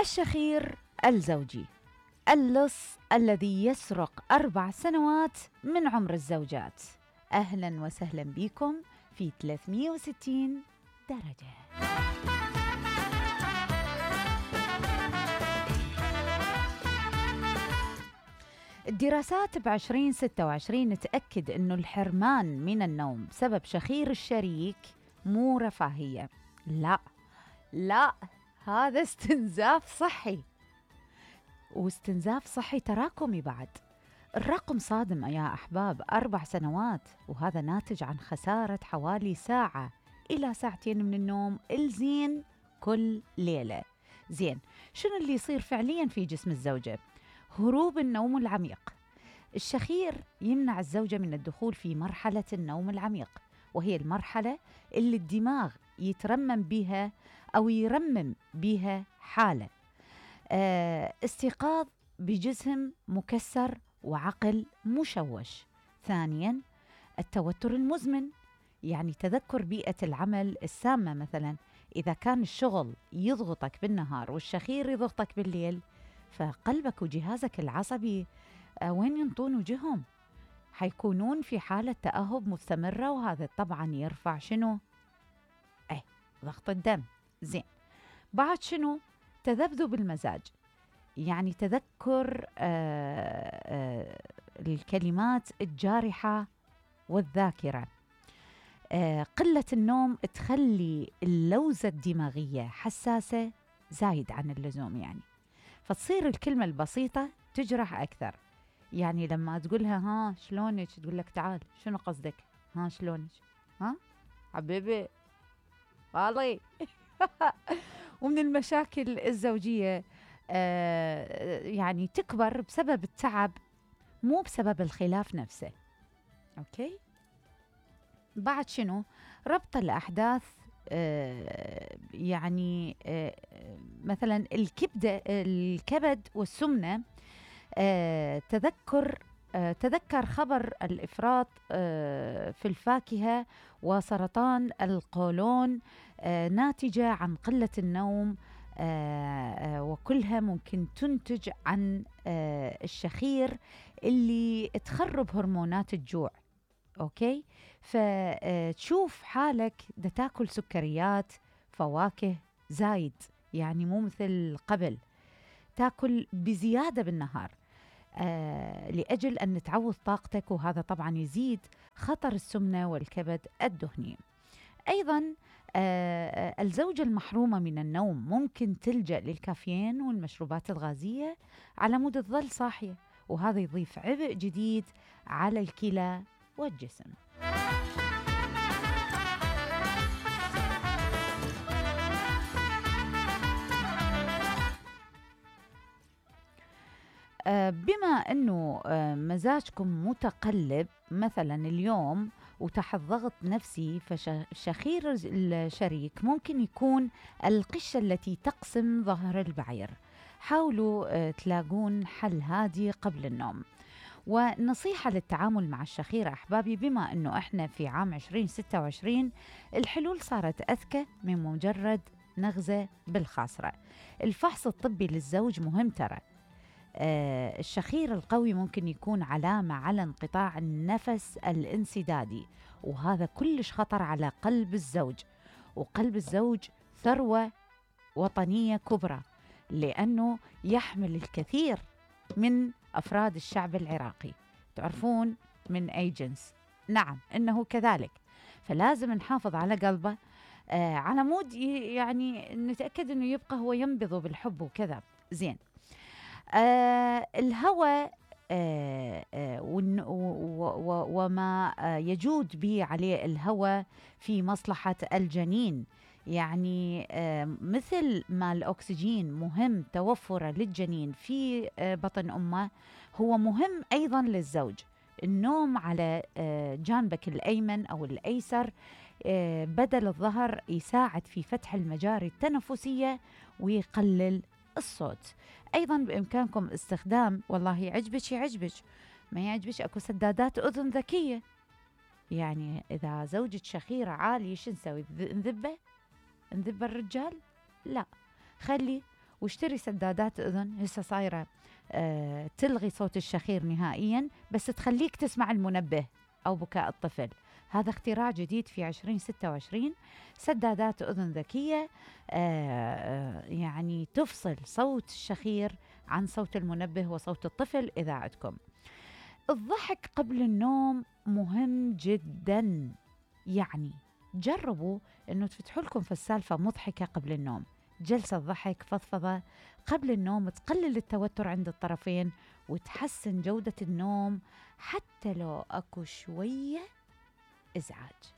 الشخير الزوجي، اللص الذي يسرق 4 سنوات من عمر الزوجات. أهلا وسهلا بكم في 360 درجة. الدراسات ب2026 تأكد أنه الحرمان من النوم بسبب شخير الشريك مو رفاهية، لا هذا استنزاف صحي، واستنزاف صحي تراكمي بعد. الرقم صادم يا أحباب، 4 سنوات، وهذا ناتج عن خسارة حوالي ساعة إلى ساعتين من النوم الزين كل ليلة. زين، شنو اللي يصير فعليا في جسم الزوجة؟ هروب النوم العميق. الشخير يمنع الزوجة من الدخول في مرحلة النوم العميق، وهي المرحلة اللي الدماغ يترمم بها أو يرمم بها حالة استيقاظ بجسم مكسر وعقل مشوش. ثانياً، التوتر المزمن، يعني تذكر بيئة العمل السامة. مثلاً إذا كان الشغل يضغطك بالنهار والشخير يضغطك بالليل، فقلبك وجهازك العصبي وين ينطون وجههم؟ حيكونون في حالة تأهب مستمرة، وهذا طبعاً يرفع شنو؟ ضغط الدم. زين، بعد شنو؟ تذبذب المزاج، يعني تذكر الكلمات الجارحة والذاكرة. قلة النوم تخلي اللوزة الدماغية حساسة زايد عن اللزوم، يعني فتصير الكلمة البسيطة تجرح أكثر. يعني لما تقولها ها شلونك، تقول لك تعال شنو قصدك؟ ها شلونك؟ ها حبيبي والله. ومن المشاكل الزوجية يعني تكبر بسبب التعب، مو بسبب الخلاف نفسه. أوكي، بعد شنو؟ ربط الأحداث، يعني مثلا الكبد والسمنة. تذكر خبر الإفراط في الفاكهة وسرطان القولون ناتجة عن قلة النوم، وكلها ممكن تنتج عن الشخير اللي تخرب هرمونات الجوع. أوكي، فتشوف حالك دا تاكل سكريات فواكه زايد، يعني مو مثل قبل، تاكل بزيادة بالنهار لأجل أن تعوض طاقتك، وهذا طبعا يزيد خطر السمنة والكبد الدهني. أيضا الزوجة المحرومة من النوم ممكن تلجأ للكافيين والمشروبات الغازية على مود تظل صاحية، وهذا يضيف عبء جديد على الكلى والجسم. بما أنه مزاجكم متقلب مثلا اليوم وتحت ضغط نفسي، فشخير الشريك ممكن يكون القشة التي تقسم ظهر البعير. حاولوا تلاقون حل هادي قبل النوم. ونصيحة للتعامل مع الشخير أحبابي، بما أنه إحنا في عام 2026 الحلول صارت أذكى من مجرد نغزة بالخاصرة. الفحص الطبي للزوج مهم ترى. الشخير القوي ممكن يكون علامة على انقطاع النفس الانسدادي، وهذا كلش خطر على قلب الزوج. وقلب الزوج ثروة وطنية كبرى، لأنه يحمل الكثير من أفراد الشعب العراقي. تعرفون من أي جنس؟ نعم إنه كذلك، فلازم نحافظ على قلبه على مود يعني نتأكد أنه يبقى هو ينبض بالحب وكذا. زين، الهوى وما يجود به عليه الهوى في مصلحة الجنين، يعني مثل ما الأكسجين مهم توفره للجنين في بطن أمه، هو مهم أيضا للزوج. النوم على جانبك الأيمن أو الأيسر بدل الظهر يساعد في فتح المجاري التنفسية ويقلل الصوت. أيضا بإمكانكم استخدام، والله يعجبك ما يعجبك أكو سدادات أذن ذكية. يعني إذا زوجة شخيرة عالية شو نسوي؟ نذبه الرجال؟ لا، خلي واشتري سدادات أذن. هسه صايرة تلغي صوت الشخير نهائيا، بس تخليك تسمع المنبه أو بكاء الطفل. هذا اختراع جديد في 2026. سدادات أذن ذكية يعني تفصل صوت الشخير عن صوت المنبه وصوت الطفل إذا عندكم. الضحك قبل النوم مهم جدا، يعني جربوا أنه تفتحوا لكم في السالفة مضحكة قبل النوم. جلسة ضحك فضفضة قبل النوم تقلل التوتر عند الطرفين وتحسن جودة النوم حتى لو أكو شوية إزعاج.